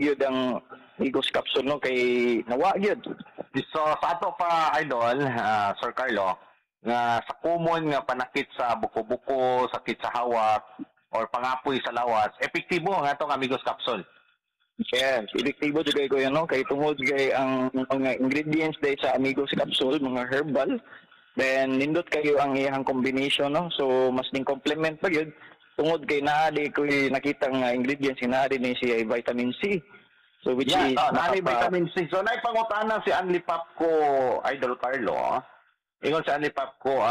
Yun ang Amigos Capsule, no, kay nawa gyud. So sa ato pa, idol, Sir Carlo, nga sa common nga panakit sa buko-buko, sakit sa hawak or pangapoy sa lawas, epektibo ang atong Amigos Capsule. Yes, epektibo jud kay kuya, no, kay tungod kay ang mga ingredients day sa Amigos Capsule mga herbal, then nindot kayo ang iyang combination, no. So mas ning complement pa gyud tungod kay naa di ko nakita nga ingredients, naa din ni siya ay vitamin C. So which is Oh, naay vitamin C. So naay pangutana si Anli Papko, Idol Carlo. Ah. Ingon si Anli Papko,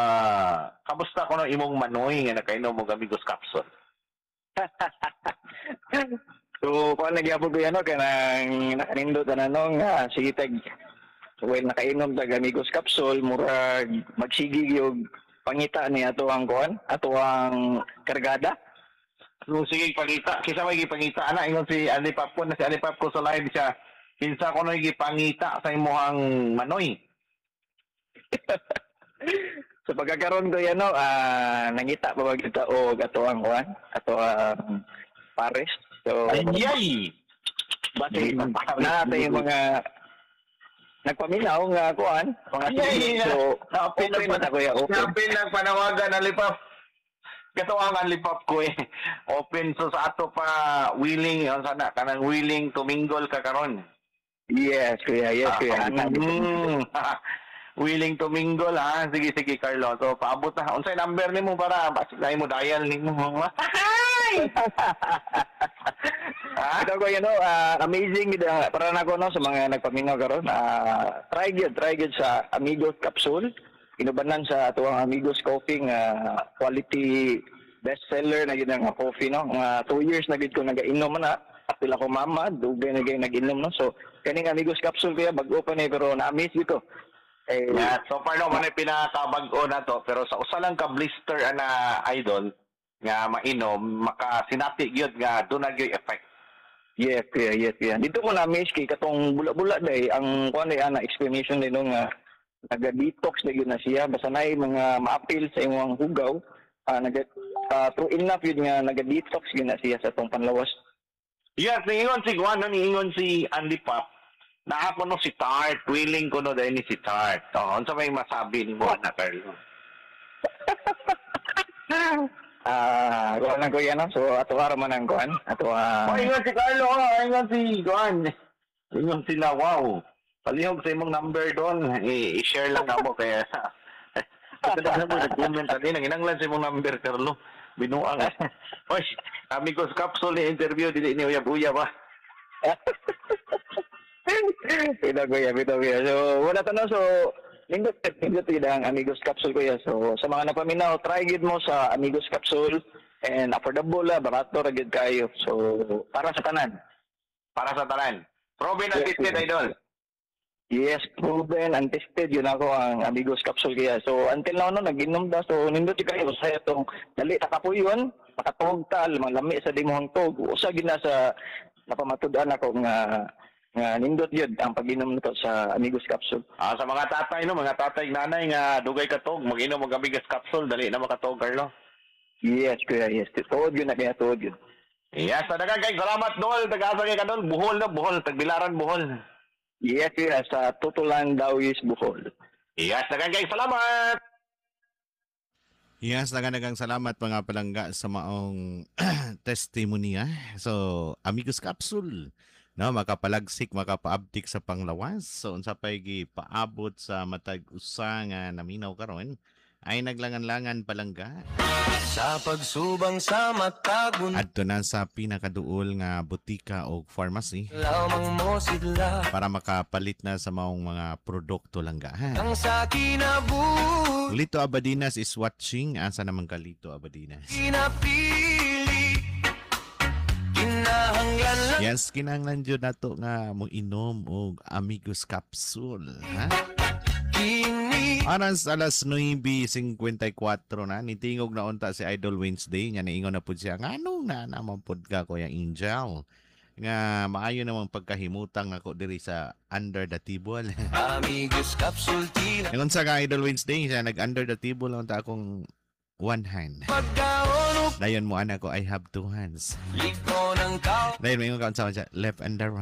kamusta kuno imong manoy nga nakainom og Amigos Capsule? So, kuan lagi po ko yan, no, kanang nakanindot na no, nga, sige tag, well, nakainom tag Amigos Capsule, murag magsige yung pangita ni ato ang kuan, ato ang kargada. Kung sige pangita, kisa may gipangita ana, ingon si Anli Papko na si Anli Papko sa live siya. Kinsa kuno gipangita sa imong manoy? So pagkakaroon ko yan, no, nangita pa ba kita og ato ang kuan, ato ang pares. So, Ayay! Base na natin yung mga nagpaminaw nga kuan, mga Ay, so, na-open open na kuya, open. Open lang panawagan ang lipap. Kato ang lipap ko eh. Open, so sa ato pa willing yon sana kanang willing to mingle ka karon. Yes, kuya, yes, kuya. Willing to mingle ha. Sige, sige, Carlo. So paabot na. Unsay number nimo para basig na mo dial nimo? Ha? Ito ko yun, no, amazing gid para nako, no, sa mga nagpaminaw karon. Try gyud sa Amigos Capsule. Inubanan sa atuang Amigos Coffee nga quality bestseller na gid ang coffee, no. Nga 2 years na gid ko nagainom na. Apil ako mama, dugay na gid nag-inom, no. So kaning Amigos Capsule kuya, bag-o pa ni pero na-amaze gid ko. Eh, Yeah, so far no man ay pinakabag-o na to, pero sa usa lang ka blister ana, idol, nga mainom makasinati gyud nga duna gyud effect. Yes, kuya, yes, kuya. Dito ko na-amaze kay katong bula-bula day, ang kuan day ana explanation din no nga naga-detox na yun na siya. Basta naay mga maapil sa imong hugaw, naga true enough yun nga naga-detox yun na siya sa atong panlawas. Yes, niingon si Juan, no, niingon si Andy Pop. Naa ko no si Tart, willing ko no dahil ni si Tart. Oh, unsa may masabi nimo na, Carlo? Kuan lang kuya, no. So ato ara man ang kuan, ato Oh, ingon si Carlo, oh, ingon si Juan. Ingon sila, wow. Palihog sa imong number doon. I-share lang namo kaya. Ito na mo nag-comment ani nang inanglan sa imong number, Carlo. Binuang. Oy, Amigos Capsule ni interview, dili ni uyab-uyab ah. Bitaw kuya, bitaw kuya. So wala to, no. So nindot nindot gid ang Amigos Capsule kuya. So sa mga napaminaw, try gid mo sa Amigos Capsule and affordable la, barato ra gid kayo. So para sa tanan. Para sa tanan. Proven and Yes, tested, yes. idol. Yes, proven and tested yun ako ang Amigos Capsule kaya. So until now no, nag-inom da. So nindot gyud kayo sa itong dali ta kapuyon, makatuog ta, malami sa dimuhang tog. Usa gid na sa napamatud-an ako nga nga nindot yun ang pag-inom nito sa Amigos Capsule. Ah, sa mga tatay no, mga tatay nanay nga dugay katog, mag-inom og Amigos Capsule, dali na makatog, Carlo. Yes, kuya, yes. Tuod yun na kaya, tuod yun. Yes, sa daghang kay salamat dol, taga-asa kay kadol, Bohol na Bohol, Tagbilaran, Bohol. Yes, kuya, sa Tutulan, Dauis, Bohol. Yes, daghang kay salamat. Yes, daghang salamat mga palangga sa maong testimony. So, Amigos Capsule, no, makapalagsik, makapaabtik sa panglawas. So, unsa pay paabot sa matag usa nga naminaw karon ay naglangan-langan, palangga. Sa pagsubang sa matagun Adto na sa pinakaduol nga butika o pharmacy lamang mo sila para makapalit na sa maong mga produkto, langga. Ha? Ang sa kinabuhi Lito Abadinas is watching. Asa naman ka, Lito Abadinas? Pinapili. Kinahanglan lang Yes, kinahanglan jud nato nga mo inom og Amigos Capsule, ha? Kini Aras alas 9:54 na, nitingog na unta si Idol Wednesday nga niingon na pud siya nganong na naman pud ka, Kuya Angel, nga maayo namang pagkahimutang ako diri sa under the table. Amigos Capsule tila Ingon sa ka Idol Wednesday siya nag under the table unta akong one hand. Pagkaon Dayon mo ana ko, "I have two hands." Liko ng Ang Dahil may ka unsa siya, left and the right.